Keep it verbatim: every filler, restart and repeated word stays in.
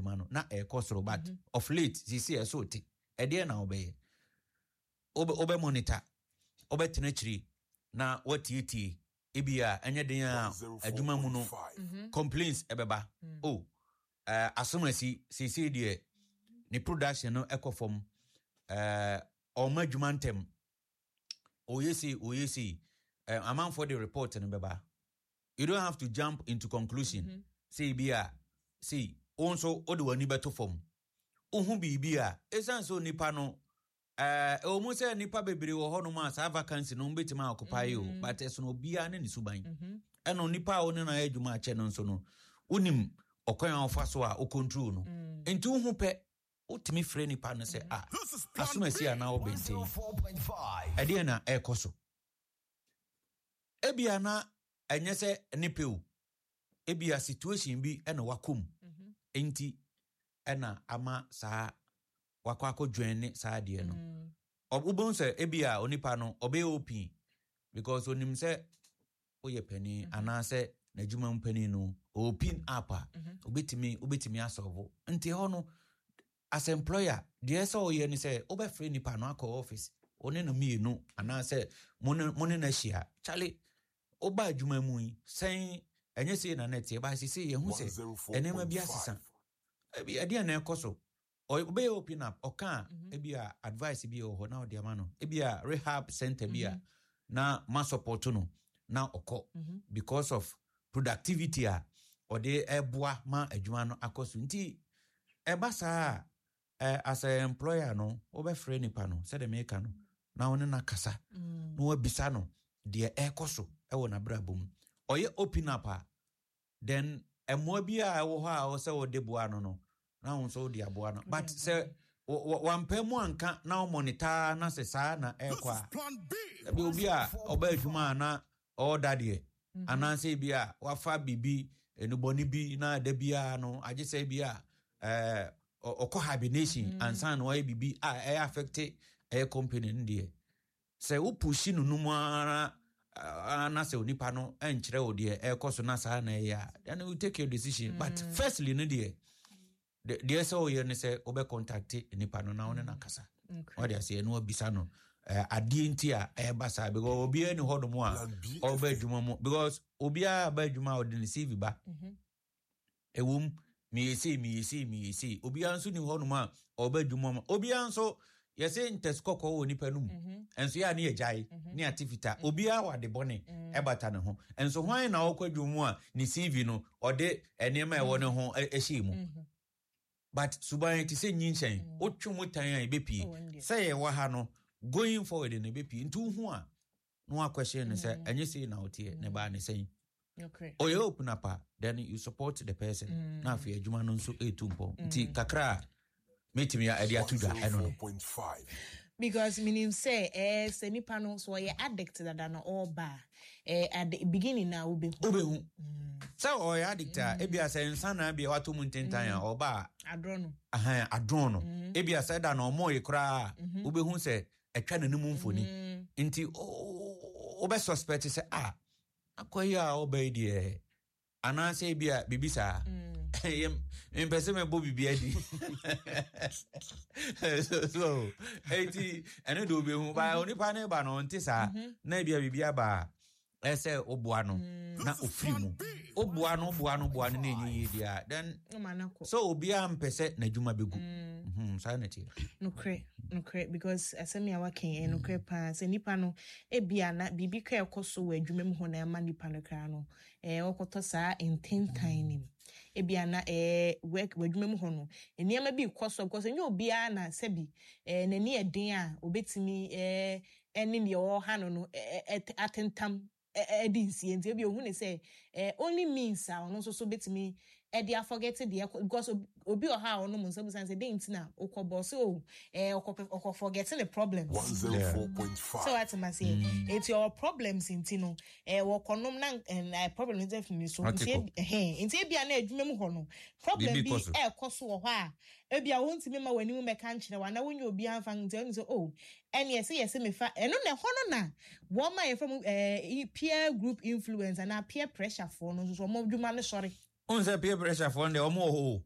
adwuma no na ɛrekɔ soro, but of late sisi ɛso te. Ɛdeɛ na wobɛyɛ, wobɛ wobɛ monitor, wobɛtena akyiri na watietie. Ebi a ɛnyɛ den a adwuma mu no complaints ɛbɛba o, uh, asomasi seesei deɛ ne production no ɛkɔ fam, uh, ɔma adwuma ntɛm, ɔyɛ sei, ɔyɛ sei. uh, amanfoɔ de report no bɛba. You don't have to jump into conclusion. mm -hmm. Sei bi a sei, wo nso wode w'ani bɛto fam, wohu biribi a ɛsiane sɛ onipa no, ɛwɔ mu sɛ nnipa bebree wɔ hɔnom a saa vacancy no wobɛtumi a occupy o, but ɛsono obiara ne ne suban. Ɛna onipa a wo ne no ayɛ adwuma akyɛ no nso no, wonim ɔkwan a wofa so a wo control no. Nti wohu pɛ, wotumi frɛ nipa no sɛ a asomasi anaa wobɛnten, ɛdeɛ na ɛrekɔ so. Ebia na ɛnyɛ sɛ ne pɛ o, ebia situation bi ɛna wakɔ mu nti ɛna ama saa wakɔ akɔ ne saa adeɛ no. Wobɛhu sɛ ebia onipa no ɔbɛyɛ open because onim sɛ woyɛ panin anaasɛ n'adwuma mu panin no, open up a wobɛtumi wobɛtumi asɔvo. Nti hɔ no, as employer, deɛ sɛ ɔyɛ ne sɛ wobɛfrɛ nipa no akɔ office, wo ne no mmienu anaasɛ mo ne mo ne no ahyia. Charley, woba adwuma mu yi sɛn? Ɛnyɛ sei na nɛteɛ ba sɛ yɛhu sɛ nneɛma bi asesa. Ebi ɛdeɛ na ɛkɔ so, ɔbɛyɛ open up, ɔka a ebi a advice bi wɔ hɔ na ɔde ama no, ebi a rehab center bi a na ma support no na ɔkɔ because of productivity a ɔde ɛboa ma adwuma no akɔ so. Nti ɛba saa a, ɛ as a employer no, wobɛfrɛ nipa no sɛdeɛ meka no na wo ne no akasa na wabisa no deɛ ɛrekɔ so ɛwɔ n'abrabɔ mu. Ɔyɛ open up a, then mmoa bi a ɛwɔ hɔ a ɛwɔ sɛ wɔde boa no no na wo nso wode aboa no. But sɛ wampɛ mu anka na ɔmonitor na sɛ saa na ɛrekɔ a, ebi obi a ɔba adwuma a na ɔɔda deɛ anaasɛ bi a wafa biribi enubɔne bi na da biara no agye sɛ bi a ɛɛ ɔkɔ hibernation ansa na wayɛ biribi a ɛyɛ affect ɛyɛ company no deɛ, sɛ wopush no no mu ara na sɛ onipa no nkyerɛ wo deɛ ɛrekɔ so na saa na ɛyɛ a, then you take your decision. But firstly no deɛ, deɛ sɛ woyɛ no sɛ wobɛ contact nipa no na wo ne no akasa, ɔde aseɛ na wabisa no adeɛ nti a ɛreba saa, because obiara ni hɔnom a ɔba adwuma mu, because obiara ba adwuma a ɔde ne C V ba. Ɛwom, meyɛ sei, meyɛ sei, meyɛ sei. Obiara nso ni hɔnom a ɔba adwuma mu, obiara nso yɛsɛ ntɛsi kɔkɔɔ wɔ nipa no mu nso yɛ a ne yɛ gyae ne ate fitaa. Obiara wɔ ade bɔne ɛbata ne ho nso. Hwan na ɔkɔ adwuma mu a ne C V no ɔde nneɛma a ɛwɔ ne ho ɛhyɛ mu? But suban te sɛ nyinhyɛn, wotwe mu tan a ɛbɛpie. Sɛ yɛwɔ ha no, going forward no ɛbɛpie. Nti wohu a na wakɔhyɛ no sɛ ɛnyɛ sei na woteɛ ne baa ne sɛn. Ɔyɛ open up a, then you support the person na afei adwuma no nso ɛtu mpɔ. Nti kakra a mɛtumi ɛde ato dwa ɛno no. Because menim sɛ eh, sɛ nipa no so ɔyɛ addict dada na ɔreba a, eh, at the beginning na wobɛhu. Wobɛhu sɛ ɔyɛ addict a, ebia sɛ nsa na bia wato mu ntentan a, ɔba a adorɔ no. Ahan, adɔn no. Ebia sɛ da na ɔmɔye koraa a, wobɛhu sɛ ɛtwa n'anim mfoni. Nti wobɛ suspect sɛ a akɔ yi a ɔba yi deɛ anaasɛ ebia biribi saa. Mpɛ sɛ mɛbɔ biribi adi so so eti ɛno de wobɛhu ba onipa ne ba no ɔnte saa na ebia biribi aba a ɛsɛ woboa no na ofiri mu. Woboa no, woboa no, woboa no na ɛnyɛ yie deɛ a, then sɛ obiara mpɛ sɛ n'adwuma bɛgu. Mhm, saa na ɛteɛ. Nokorɛ, nokorɛ, because asɛm a waka yi ɛyɛ nokorɛ paa sɛ nipa no ebia na biribi kora ɛkɔ so wɔ adwuma mu hɔ na ɛma nipa no koraa no ɛɛ ɔkɔtɔ saa ntentan nim. Ebia na ɛɛ work wɔ adwuma mu hɔ no nneɛma bi kɔ so, because ɛnyɛ obiara na sɛbi ɛɛ n'ani yɛ den a obetumi ɛɛ ɛne deɛ ɔwɔ no no ɛɛ atentam ɛde nsie. Nti ebi ohun ne sɛ ɛɛ only means a ɔno nso so betumi ɛde aforget deɛ ɛkɔ, because obi wɔ ha a ɔnom nsa busan sɛ den nti na ɔkɔ bɔ so o, ɛɛ ɔkɔ ɔkɔ forget ne problems. One zero four point five. Sɛ wate ma seɛ, eti ɔwɔ problems nti no ɛɛ wɔkɔnom na ɛɛ problem no fi ne so. Nti ebi ɛhɛn nti ebia na adwuma mu hɔ no problem bi ɛɛkɔ so wɔ hɔ a ebia wɔntumi ma wɔn anim mɛka nkyerɛ wɔn anaa wɔnyɛ obi anfa. Nti ɛnu sɛ o ɛne ɛsɛ yɛsɛ mefa ɛno na ɛhɔ no na wɔn a yɛfrɛ mu ɛɛ peer group influence anaa peer pressure foɔ no nso so wɔn adwuma no sɔre. N sɛ peer pressure foɔ no deɛ, ɔmo wɔ hɔ o.